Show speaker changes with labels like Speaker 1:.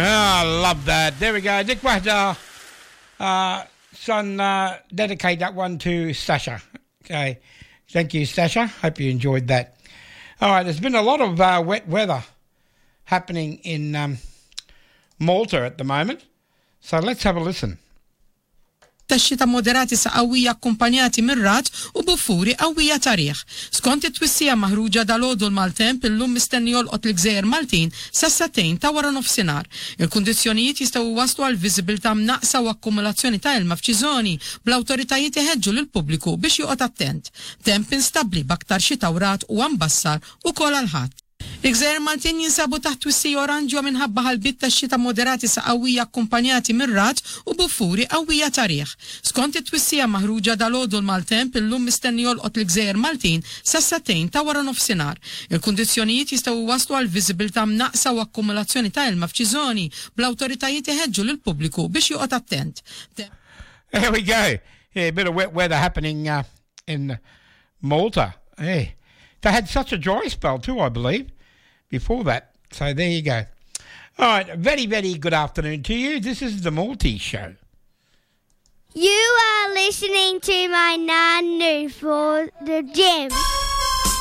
Speaker 1: Ah, I love that. There we go. Dik waħda. Son, dedicate that one to Sasha. Okay. Thank you, Sasha. Hope you enjoyed that. All right, there's been a lot of wet weather happening in Malta at the moment. So let's have a listen.
Speaker 2: Ta' xita moderati sa qawwija akkumpanjati minn ragħad u buffuri qawwija ta' riħ. Skont it-twissija maħruġa dalgħodu l-maltemp illum mistenni jolqot l-gżejjer Maltin sas-sagħtejn ta' wara nofsinhar. Il-kundizzjonijiet jistgħu jwasslu għal viżibilità mnaqqsa u akkumulazzjoni ta' ilma f'xi żoni, bl-awtoritajiet iħeġġu lill-pubbliku biex joqgħod attent. Temp instabbli b'aktar xita u ragħad huwa mbassar ukoll għall-Ħadd. Il-gżejjer Maltin jinsabu taħt twissija oranġjo minħabba ħalbiet ta' xita moderati sa qawwija akkumpanjati minn ragħad u buffuri qawwija ta' riħ. Skont it-twissija maħruġa dalgħodu l-maltemp illum mistenni jolqot l-gżejjer Maltin sas-sagħtejn ta' wara nofsinhar. Il-kundizzjonijiet jistgħu jwasslu għal viżibilità mnaqqsa u akkumulazzjoni ta' ilma f'xi żoni, bl-awtoritajiet iħeġġu lill-pubbliku biex joqgħod attent.
Speaker 1: There we go. Yeah, a bit of wet weather happening in Malta. Hey, they had such a dry spell too, I believe, before that. So there you go. All right, very, very good afternoon to you. This is the Maltese Show.
Speaker 3: You are listening to my Nanu for the gym.